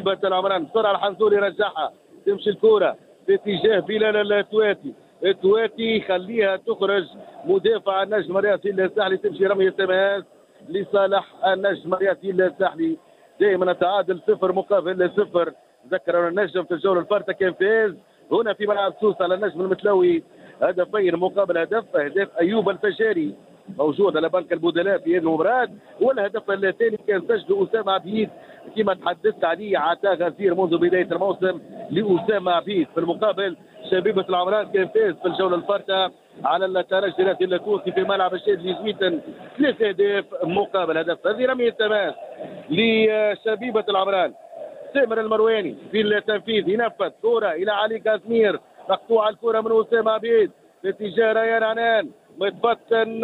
شبيبة العمران. بسرعة الحنزولي رجعها، تمشي الكره في اتجاه بلال التواتي، التواتي خليها تخرج مدافع النجم الرياضي الساحلي، تمشي رمية تماس لصالح النجم الرياضي الساحلي. دائما التعادل 0-0. ذكر النجم في الجولة الفارطه كان فاز هنا في ملعب سوسة على النجم المتلوي 2-2، اهداف ايوب الفجاري موجود على بنك البدلاء في هذه المباراة، والهدف الثاني كان سجله اسامة عبيد كما تحدثت عليه، عطاء غزير منذ بداية الموسم لاسامة عبيد. في المقابل شبيبة العمران كان فاز في الجولة الفارطه على الترجي الرياضي التونسي في ملعب الشاذلي زويتن 3 أهداف مقابل هدف. هذه رمية تماس لشبيبه العمران، سامر المرواني في التنفيذ، ينفذ كرة إلى علي كازمير، مقطوعة الكرة من أسامة عبيد في اتجاه ريان عنان، متفتن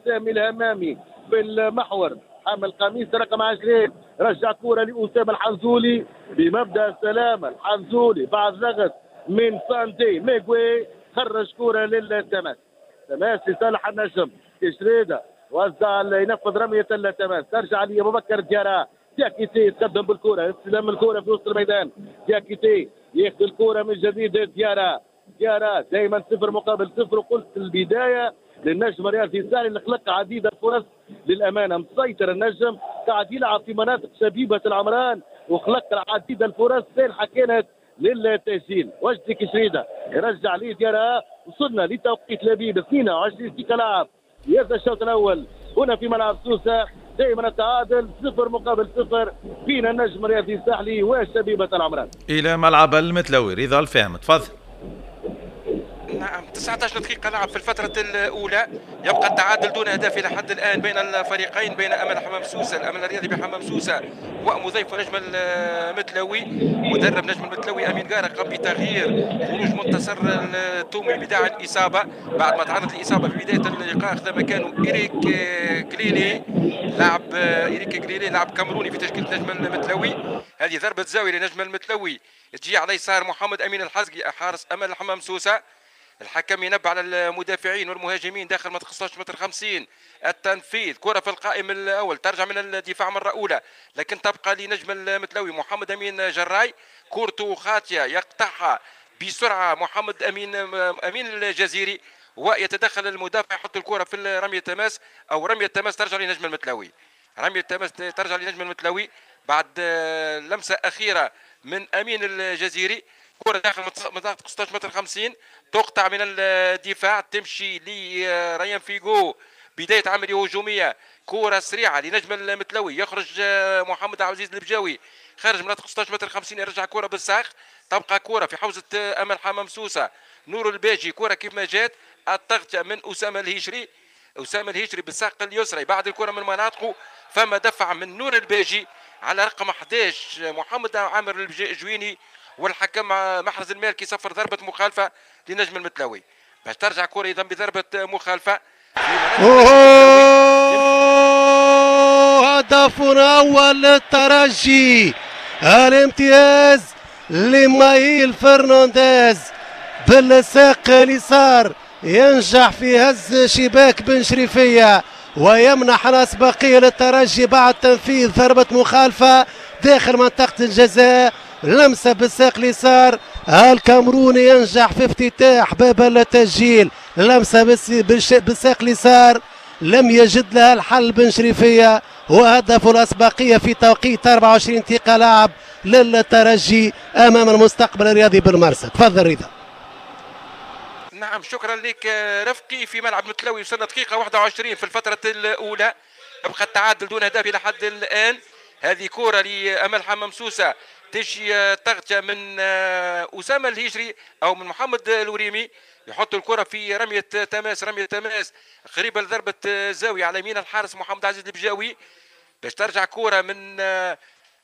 سامي الهمامي في المحور، حامل قميص رقم 20، رجع كرة لأسامة الحنزولي بمبدأ السلامة. الحنزولي بعد ضغط من سانتي ميغوي خرج كرة للتماس، تماس لصالح النجم. كشريدة وزع، ينفذ رمية التماس، ترجع لأبو بكر ديارة. دياكيتي يتقدم بالكرة، استلم الكرة في وسط الميدان، دياكيتي ياخذ الكرة من جديد، ديارة، ديارة. دائما 0-0. وقلت البداية للنجم الرياضي الساحلي اللي خلق عديد الفرص، للأمانة مسيطر النجم، قاعد يلعب في مناطق شبيبة العمران وخلق العديد الفرص سانحة كانت للتسجيل. وجدي كشريدة يرجع لي ديارة. وصلنا لتوقيت لبيب 22 دقيقة لعب في هذا الشوط الأول هنا في ملعب سوسة، دائما التعادل 0-0 بين النجم الرياضي الساحلي وشبيبة العمران. إلى ملعب المتلوي، رضا الفهم، تفضل. نعم، 19 دقيقة لعب في الفترة الأولى، يبقى التعادل دون أهداف إلى حد الآن بين الفريقين، بين أمل حمام سوسة، الأمل الرياضي بحمام سوسة، ومضيف نجم المتلوي. مدرب نجم المتلوي أمين قارة قام بتغيير، خروج منتصر التومي بداعي الإصابة بعد ما تعرض للإصابة في بداية اللقاء، أخذ مكانه إيريك كليلي، لاعب إيريك كليلي لاعب كاميروني في تشكيلة نجم المتلوي. هذه ضربة زاوية لنجم المتلوي تجي على يسار محمد أمين الحزقي حارس أمل حمام سوسة. الحكم ينبه على المدافعين والمهاجمين داخل منطقة 16 متر 50. التنفيذ، كرة في القائم الأول، ترجع من الدفاع مرة أولى لكن تبقى لنجم المتلوي. محمد أمين جراي كورته خاطية، يقطعها بسرعة محمد أمين الجزيري ويتدخل المدافع، يحط الكرة في رمية التماس أو رمية التماس ترجع لنجم المتلوي. رمية التماس ترجع لنجم المتلوي بعد لمسة أخيرة من أمين الجزيري. كرة داخل منطقة 16 متر 50، تقطع من الدفاع، تمشي لريان فيغو، بداية عملية هجومية، كرة سريعة لنجم المتلوي، يخرج محمد عبد العزيز البجاوي خارج منطقة 16 متر 50، يرجع كرة بالساق، تبقى كرة في حوزة أمل حمام سوسة. نور الباجي، كرة كيف ما جات، التغطية من أسامة الهيشري، أسامة الهيشري بالساق اليسرى بعد الكرة من مناطقه، فما دفع من نور الباجي على رقم 11 محمد عامر الجويني، والحكم محرز المالكي صفر ضربة مخالفة لنجم المتلوي. باش ترجع كرة إذا بضربة مخالفة. هدف أول للترجي، الامتياز لمايل فرنانديز بالساق اليسار، ينجح في هز شباك بن شريفية ويمنح الأسبقية للترجي بعد تنفيذ ضربة مخالفة داخل منطقة الجزاء. لمسة بالساق اليسار، الكاميروني ينجح في افتتاح باب التسجيل. لمسة بالساق اليسار لم يجد لها الحل بن شريفية، وهدف الأسبقية في توقيت 24 دقيقة لعب للترجي أمام المستقبل الرياضي بالمرسى. تفضل رضا. نعم، شكرا لك رفقي. في ملعب متلوي وصلنا دقيقة 21 في الفترة الأولى، يبقى التعادل دون هدف إلى حد الآن. هذه كرة لأمل حمام سوسة، تجي تغطية من أسامة الهجري أو من محمد الوريمي، يحط الكرة في رمية تماس، رمية تماس قريبة لضربة زاوية على يمين الحارس محمد عزيز البجاوي. باش ترجع كرة من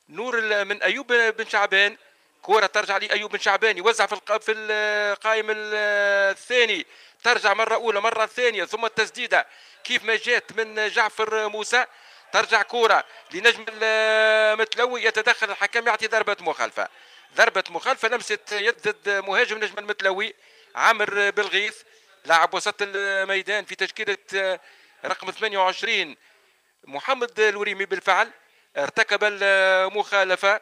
نور من أيوب بن شعبان، كرة ترجع لأيوب بن شعبان، يوزع في القائم الثاني، ترجع مرة أولى، مرة ثانية، ثم التسديدة كيف ما جات من جعفر موسى. ترجع كرة لنجم المتلوي، يتدخل الحكم يعطي ضربة مخالفة، ضربة مخالفة، لمسة يد ضد مهاجم نجم المتلوي عامر بالغيث، لاعب وسط الميدان في تشكيلة رقم 28 محمد الوريمي، بالفعل ارتكب المخالفة.